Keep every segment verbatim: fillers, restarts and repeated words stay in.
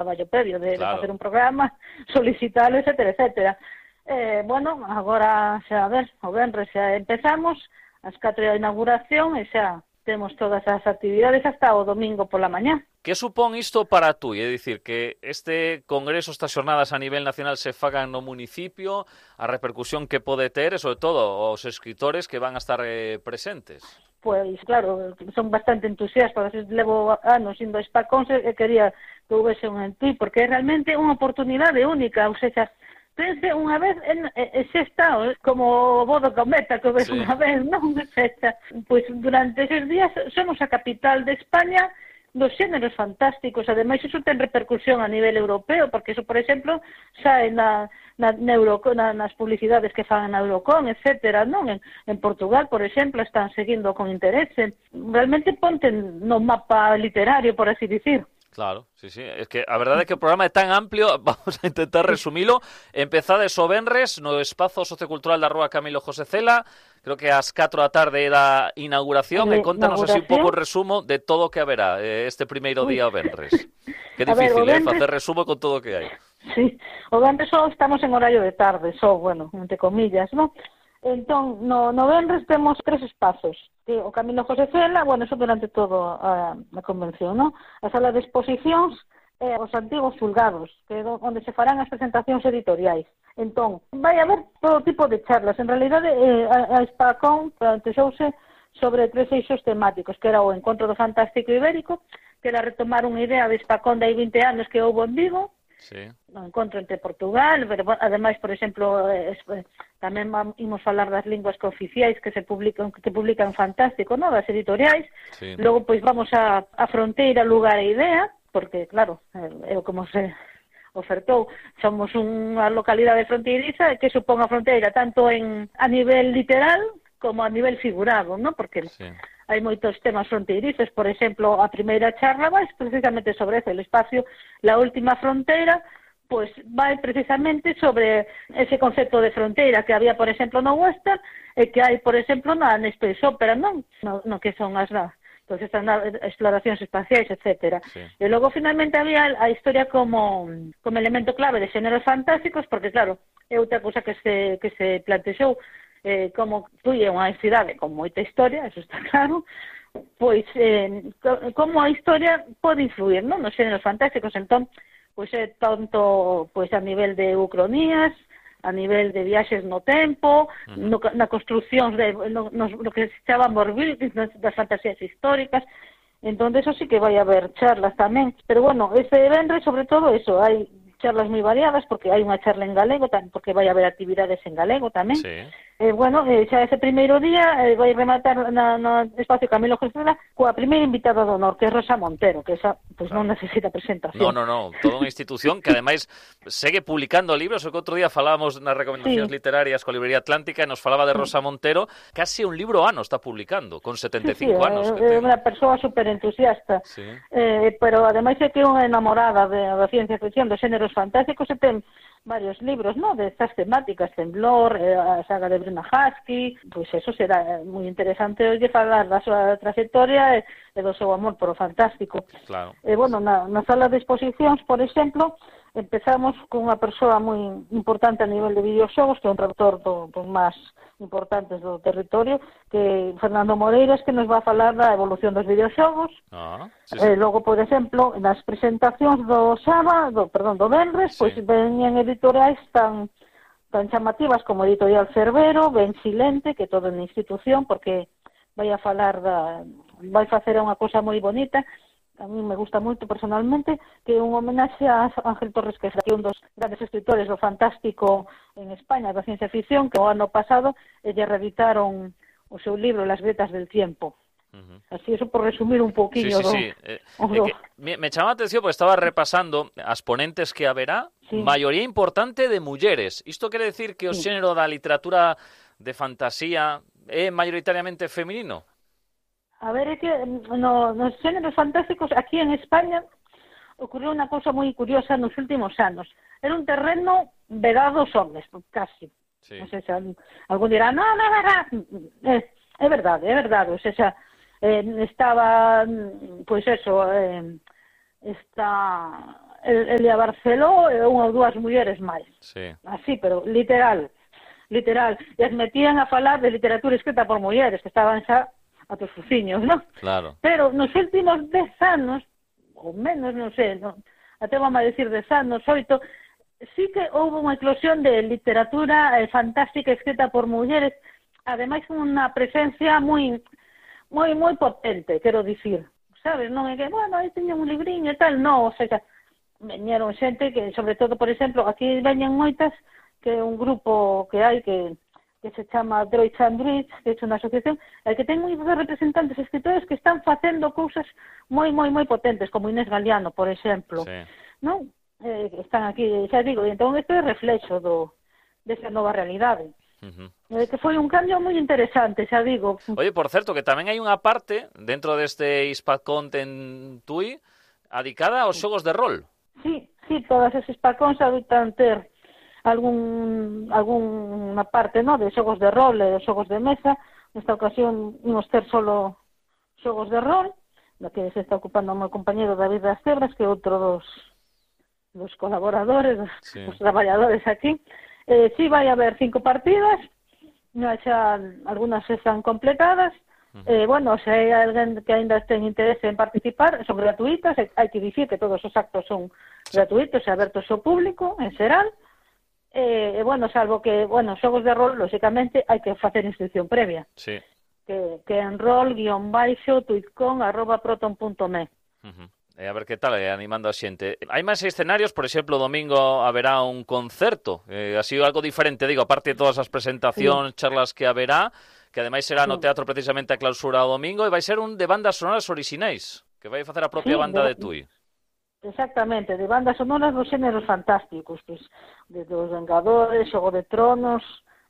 traballo previo de, claro. de facer un programa, solicitalo, etcétera, etcétera. Eh, bueno, agora xa, a ver, o venres xa empezamos, as catro da inauguración e xa temos todas as actividades hasta o domingo pola mañá. Que supón isto para tú? É dicir, que este congreso, estas xornadas a nivel nacional se fagan no municipio, a repercusión que pode ter e, sobre todo, os escritores que van a estar eh, presentes. Pois, claro, son bastante entusiastas, levo anos indo a Spacón e quería que houvese un en ti, porque é realmente unha oportunidade única, ou seja, pense unha vez, en, en, xa está, como o Bodo Cometa, que ves sí. unha vez, non? Xa, pois durante eses días somos a capital de España dos xéneros fantásticos, ademais iso ten repercusión a nivel europeo, porque iso, por exemplo, sae na, na, na Euro, na, nas publicidades que fan na Eurocon, etcétera, non? En, en Portugal, por exemplo, están seguindo con interese. Realmente ponte no mapa literario, por así dicir. Claro, sí, sí. Es que a verdade é que o programa é tan amplio, vamos a intentar resumilo. Empezades o venres no espazo sociocultural da Rúa Camilo José Cela, creo que ás catro da tarde da inauguración, e contanos así un pouco o resumo de todo o que haberá este primeiro día o venres. Que difícil, ver, eh, venres... facer resumo con todo o que hai. Sí, o venres só estamos en horario de tarde, só, bueno, entre comillas, non? Entón, no, no venres temos tres espazos, que o Camilo José Cela, bueno, eso durante todo a, a convención, non? A sala de exposicións e eh, os antigos xulgados, que é onde se farán as presentacións editoriais. Entón, vai haber todo tipo de charlas. En realidade, eh, a, a Spacón plantexouse sobre tres eixos temáticos, que era o Encontro do Fantástico Ibérico, que era retomar unha idea de Spacón de hai vinte anos que houve en Vigo, sí. No encontro entre Portugal, pero ademais, por exemplo, eh, tamén imos falar das linguas cooficiais que se publican, que se publican fantástico, no? Das editoriais. Sí. Logo, pois, vamos a, a fronteira, lugar e idea, porque, claro, é eh, como se ofertou, somos unha localidade fronteiriza que supón a fronteira tanto en a nivel literal como a nivel figurado, ¿no? Porque sí. Hai moitos temas fronteirizos, por exemplo, a primeira charla vai precisamente sobre ese, el espacio, la última fronteira, pois vai precisamente sobre ese concepto de fronteira que había, por exemplo, no western e que hai, por exemplo, na Space Opera, non? No, no que son as pues estas exploracións espaciais, etcétera. Sí. E logo, finalmente, había a historia como, como elemento clave de xéneros fantásticos, porque, claro, é outra cousa que se, que se plantexou, eh, como Tui é unha cidade con moita historia, eso está claro, pois eh, como a historia pode influir, non, nos xéneros fantásticos. Entón, pois é tanto pois a nivel de ucronías, a nivel de viaxes no tempo, uh-huh. no, na construcción de no, no, no que se chama morbuildings, das fantasías históricas. Entón, eso sí que vai haber charlas tamén, pero bueno, ese venre, sobre todo eso, hai charlas moi variadas, porque hai unha charla en galego, porque vai haber actividades en galego tamén. Sí. Eh, bueno, eh, xa ese primeiro día eh, vai rematar na, no espacio Camilo José Cela coa primeira invitada do honor, que é Rosa Montero, que esa pues, claro. non necesita presentación. No, no, no, toda unha institución que ademais segue publicando libros, o que outro día falábamos nas recomendacións sí. literarias coa Librería Atlántica e nos falaba de Rosa Montero, casi un libro ano está publicando, con setenta e cinco sí, sí, anos. É unha persoa super entusiasta, sí. eh, pero ademais é que é unha enamorada de, da ciencia ficción, dos xéneros fantásticos, e ten varios libros, ¿no?, de estas temáticas, Temblor, eh, a saga de Bruna Husky, pois pues eso será moi interesante hoxe falar da súa trayectoria e, e do seu amor por o fantástico. Claro. E, bueno, na, na sala de exposicións, por exemplo, empezamos con unha persoa moi importante a nivel de videoxogos, que é un traductor do, dos máis importantes do territorio, que Fernando Moreiras, que nos va a falar da evolución dos videoxogos. Ah, sí, sí. Eh, logo, por exemplo, nas presentacións do sábado, perdón, do venres, sí. pois veñen editoriais tan tan chamativas como Editorial Cervero, Ben Silente, que todo na institución, porque vai a falar da vai facer unha cousa moi bonita. A mí me gusta moito personalmente, que é un homenaxe a Ángel Torres, que é un dos grandes escritores do fantástico en España, da ciencia ficción, que o ano pasado lle reeditaron o seu libro Las grietas del tiempo. Uh-huh. Así, eso por resumir un pouquiño. Sí, sí, sí. Do, eh, do... Eh, me, me chama a atención porque estaba repasando as ponentes que haberá, sí. maioría importante de mulleres. Isto quere decir que o sí. xénero da literatura de fantasía é maioritariamente feminino? A ver, é que no, nos xéneros fantásticos aquí en España ocurriu unha cousa moi curiosa nos últimos anos. Era un terreno vedado aos homens, casi. Sí. Non sei se algún dirá, no, no, no, é, é verdade, é verdade. O sea, eh, estaba, pois eso, eh, está Elia Barceló e unha ou dúas mulleres máis. Sí. Así, pero literal, literal. E as metían a falar de literatura escrita por mulleres, que estaban xa a tos fuciños, non? Claro. Pero nos últimos dez anos, ou menos, non sei, non, até vamos a decir dez anos, oito, sí que houve unha eclosión de literatura eh, fantástica escrita por mulleres, ademais unha presencia moi moi moi potente, quero dicir, sabes, non é que, bueno, aí teño un libriño e tal, non, o sea, veñeron xente que, sobre todo, por exemplo, aquí veñen moitas, que é un grupo que hai que que se chama Droits and Druids, que é unha asociación, e que ten moitos representantes escritores que están facendo cousas moi, moi, moi potentes, como Inés Galeano, por exemplo, sí. non? Eh, están aquí, xa digo, e entón isto é reflexo do, desa nova realidade. Uh-huh. Eh, que foi un cambio moi interesante, xa digo. Oye, por certo, que tamén hai unha parte dentro deste Hispacont en Tui adicada aos xogos de rol. Sí, sí, todas esas Hispacons adoitan ter algún algunha parte, no, de xogos de rol e xogos de mesa. Nesta ocasión imos ter solo xogos de rol, na que se está ocupando o meu compañero David das Cebras, que é outro dos dos colaboradores, sí. Dos traballadores aquí. Eh, sí, vai haber cinco partidas, xa algunhas están completadas. Uh-huh. Eh, bueno, se hai alguén que ainda ten interese en participar, son gratuitas, hai que dicir que todos os actos son gratuitos e abertos ao público, en xeral. E, eh, bueno, salvo que, bueno, xogos de rol, lóxicamente, hai que facer inscripción previa. Sí. Que, que en rol guión baixo tuitcon arroba proton punto me. Uh-huh. E a ver que tal, eh, animando a xente. Hai máis escenarios, por exemplo, o domingo haberá un concerto, eh, así algo diferente, digo, aparte de todas as presentacións, sí. Charlas que haberá, que ademais será no teatro precisamente a clausura o domingo, e vai ser un de bandas sonoras orixinais, que vai facer a propia sí, banda de, de Tui. Exactamente, de bandas sonoras dos xéneros fantásticos, pues, de dos Vengadores, Xogo de Tronos.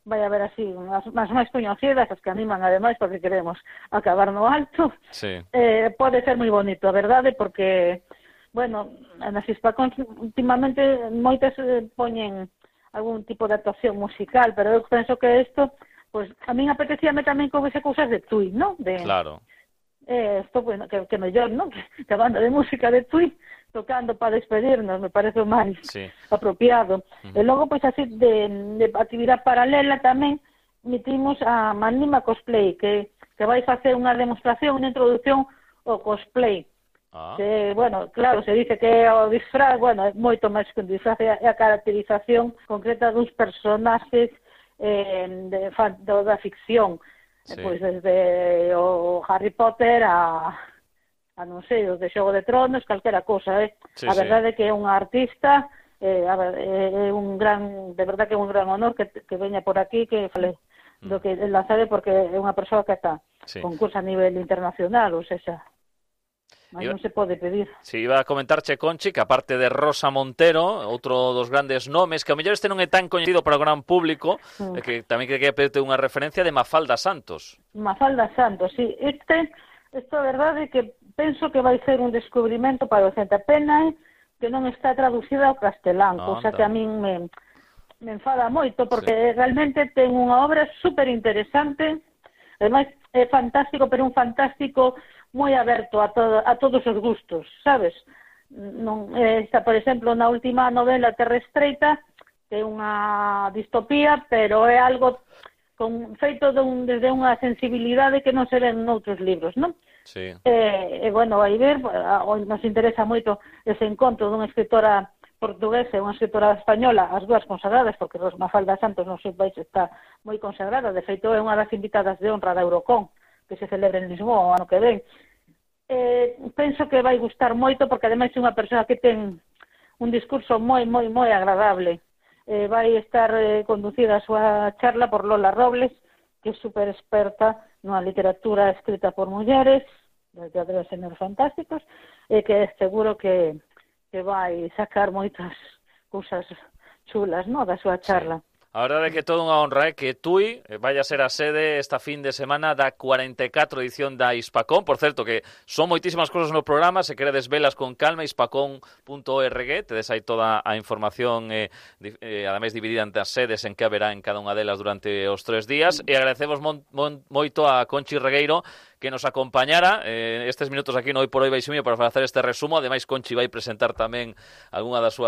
Vai haber así as, as máis coñecidas, as que animan ademais porque queremos acabar no alto. Sí. Eh, pode ser moi bonito, a verdade, porque, bueno, nas Hispacons últimamente moitas eh, poñen algún tipo de actuación musical, pero eu penso que isto, pues, a min apetecíame tamén que houvese cousas de Tui, ¿no? De, claro. Eh, esto, bueno, que, que mellor, ¿no? Que, que a banda de música de Tui tocando para despedirnos, me parece o máis sí. Apropiado. Uh-huh. E logo, pois, así, de, de actividade paralela tamén, metimos a Manima Cosplay, que, que vai facer unha demostración, unha introducción ao cosplay. Ah. Que, bueno, claro, se dice que o disfraz, bueno, é moito máis que un disfraz, é a caracterización concreta dos personaxes eh, de, de, da ficción. Sí. Pois desde o Harry Potter a... a non sei, os de Xogo de Tronos, calquera cosa, eh? Sí, a verdade é sí. Que é unha artista, eh, a ver, é un gran, de verdade que é un gran honor que, que veña por aquí, que fale mm. do que la sabe, porque é unha persoa que está sí. Concursa a nivel internacional, ou seja, mas iba, non se pode pedir. Si, iba a comentarche, Conchi, que aparte de Rosa Montero, outro dos grandes nomes, que ao mellor este non é tan coñecido para o gran público, mm. eh, que tamén que quería pedirte unha referencia de Mafalda Santos. Mafalda Santos, sí, este... Isto é verdade que penso que vai ser un descubrimento para o xente. A pena é que non está traducida ao castelán, no, cousa que a min me, me enfada moito, porque sí. Realmente ten unha obra super interesante, ademais é fantástico, pero un fantástico moi aberto a, todo, a todos os gustos, sabes? Non, está, por exemplo, na última novela Terra Estreita, que é unha distopía, pero é algo... con feito de un, desde unha sensibilidade que non se ven noutros libros, non? Sí. E, eh, bueno, vai ver, nos interesa moito ese encontro dunha escritora portuguesa e unha escritora española, as dúas consagradas, porque Mafalda Santos non sei vais está moi consagrada, de feito é unha das invitadas de honra da Eurocon, que se celebra en Lisboa o ano que ven. Eh, penso que vai gustar moito, porque ademais é unha persoa que ten un discurso moi, moi, moi agradable. Eh, vai estar eh, conducida a súa charla por Lola Robles, que é super experta na literatura escrita por mulleres, de teatro de xéneros fantásticos, e que é seguro que, que vai sacar moitas cousas chulas, no, da súa charla. A verdade é que toda unha honra é que Tui vaya a ser a sede esta fin de semana da cuarenta e catro edición da Hispacón. Por certo, que son moitísimas cosas no programa, se queredes velas con calma, hispacón punto org, tedes aí toda a información, eh, eh, ademais dividida entre as sedes en que haberá en cada unha delas durante os tres días. E agradecemos mon, mon, moito a Conchi Regueiro que nos acompañara eh, estes minutos aquí no Hoy por Hoy Baixumiño para facer este resumo. Ademais, Conchi vai presentar tamén algunha das súas